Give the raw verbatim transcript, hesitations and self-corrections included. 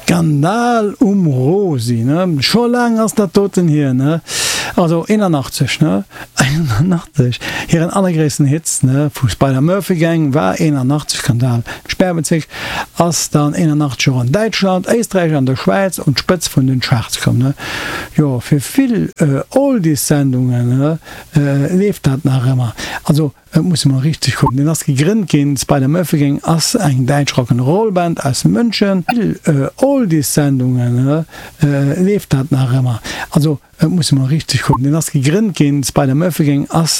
Skandal um Rosi, ne? Scho laang ass dat doten hier, ne? Also eenanachtzeg, ne? Eenanachtzeg, hiren allergréissten Hits, ne, vu Spider Murphy Gang war eenanachtzeg. Skandal Sperrbezierk ass dann eenanachtzeg och an Däitschland, Éisträich an der Schwäiz un d'Spëtz vun den Charts komm, ne? Jo, fir vill Oldies-Sendungen, ne, leeft dat nach ëmmer. Also, et muss emol richteg kucken. Deen ass gegrënnt ginn, d'Spider Murphy Gang ass eng däitsch Rock'n'Roll Band aus München. Vill Oldies-Sendungen, ne, leeft dat nach ëmmer. Also, et muss emol richteg kucken. Deen ass gegrënnt ginn, d'Spider Murphy Gang ass.